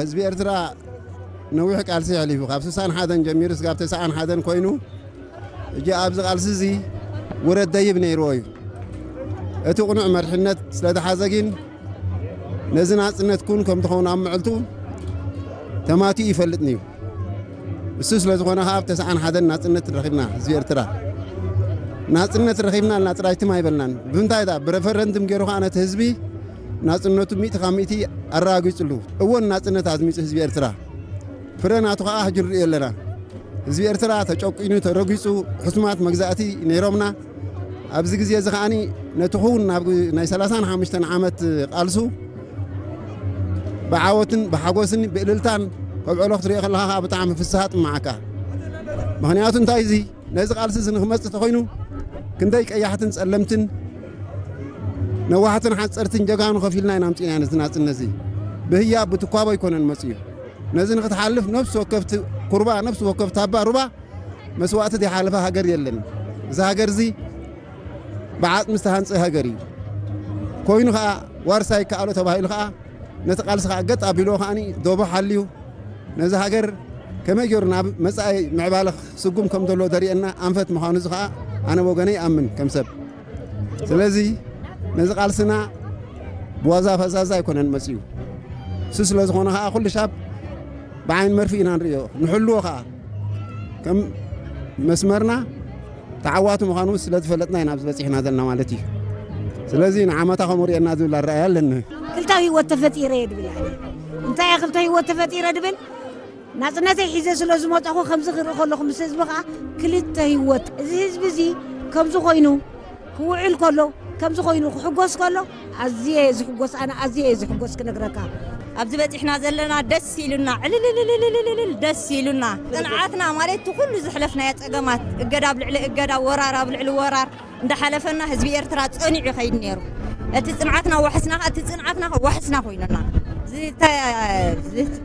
ህዝቢ ኤርትራ ነዊሕ ቃልሲ የሕሊፉ፣ ካብ ስሳን ሓደን ጀሚሩ ስጋብ ተስዓን ሓደን ኮይኑ፣ እጂ ኣብዚ ቃልሲ እዚ ውረድ ደይብ ነይርዎ እዩ። እቲ ቅኑዕ መርሕነት ስለ ተሓዘ ግን ነዚ ናጽነት ኩን ከም ትኸውን ኣብ ምዕልቱ ተማቲኡ ይፈልጥን እዩ። እሱ ስለ ዝኾነ ከኣ ኣብ ተስዓን ሓደን ናጽነት ረኺብና ህዝቢ ኤርትራ። ናጽነት ረኺብና ኢልና ጥራይ ትም ኣይበልናን። ብምንታይ ዳ ብረፈረንድም ገይሩ ከኣ ነቲ ህዝቢ ናጽነቱ ሚእቲ ካብ ሚእቲ ኣረጋጊጽሉ። እወን ናጽነት ኣዝሚጹ ህዝቢ ኤርትራ። ፍረ ናቱ ከኣ ሕጂ ንርእዮ ኣለና። ህዝቢ ኤርትራ ተጨቂኑ፣ ተረጊጹ፣ ሕሱማት መግዛእቲ ነይሮምና። ኣብዚ ግዜ እዚ ከኣኒ ነቲ ክውን ናብ ናይ ሰላሳን ሓሙሽተን ዓመት ቃልሱ ብዓወትን ብሓጎስን ብእልልታን ከብዕሎ ክትሪኦ ከለኻ ከኣ ብጣዕሚ ፍስሃ ጥመዓካ። ምኽንያቱ እንታይ እዚ ነዚ ቃልሲ እዚ ንክመጽእ ተኾይኑ ክንደይ ቀያሕትን ጸለምትን ነዋሕትን ሓጸርትን ጀጋኑ ከፊልና ኢና ኣምጺእና ነዚ ናጽነት እዚ። ብህያብ ብትኳቦ ኣይኮነን መጽኡ። ነዚ ንክትሓልፍ ነፍሲ ወከፍ ት-፣ ኩርባ፣ ነፍሲ ወከፍ ታባ ሩባ መስዋእቲ ዘይሓለፈ ሃገር የለን። እዚ ሃገር እዚ ብዓጽሚ ዝተሃንጸ ሃገር እዩ። ኮይኑ ከኣ ዋርሳይ ይከኣሎ ተባሂሉ ከኣ ነቲ ቃልሲ ከኣ ገጥ ኣቢልዎ ከኣኒ ዶቦ ሓልዩ ነዚ ሃገር ከመይ ገይሩ ናብ መጻኢ ምዕባለ ክስጉም ከም ዘለዎ ዘርእየና ኣንፈት ምዃኑ እዚ ከኣ ኣነ ወገነ ይኣምን ከም ሰብ። ስለዚ ነዚ ቃልስና ብዋዛ ፈዛዛ ኣይኮነን መጽኡ። እሱ ስለ ዝኾነ ከኣ ኩሉ ሻብ ብዓይኒ መርፍእ ኢና ንርእዮ፣ ንሕልዎ ከኣ ከም መስመርና ተዓዋቲ ምዃኑ ስለ ዝፈለጥና ኢና ኣብዚ በጺሕና ዘለና ማለት እዩ። ስለዚ ንዓመታ ከምኡ ርእየና ዝብል ኣረኣእያ ኣለኒ። ክልተ ህይወት ተፈጢረ እየ ድብል ኣነ። እንታይ እየ ክልተ ህይወት ተፈጢረ ድብል? ናጽነተይ ሒዘ ስለ ዝመጣኹ ከምዚ ክርኢ ከለኹ ምስ ህዝቢ ከኣ ክልተ ህይወት። እዚ ህዝቢ እዚ ከምዚ ኮይኑ ክውዕል ከሎ፣ ከምዚ ኮይኑ ክሕጎስ ከሎ ኣዝየ እየ ዝሕጎስ፣ ኣነ ኣዝየ እየ ዝሕጎስ ክነግረካ። ኣብዚ በጺሕና ዘለና ደስ ኢሉና፣ ዕልልልልልልልል ደስ ኢሉና። ጽንዓትና ማለት እቲ ኩሉ ዝሕለፍናዮ ጸገማት፣ እገዳ ኣብ ልዕሊ እገዳ፣ ወራር ኣብ ልዕሊ ወራር እንዳሓለፈና ህዝቢ ኤርትራ ጸኒዑ ይኸይድ ነይሩ። እቲ ጽንዓትና ዋሕስና፣ እቲ ጽንዓትና ዋሕስና ኮይኑና። ዝተ-፣ ዝት-፣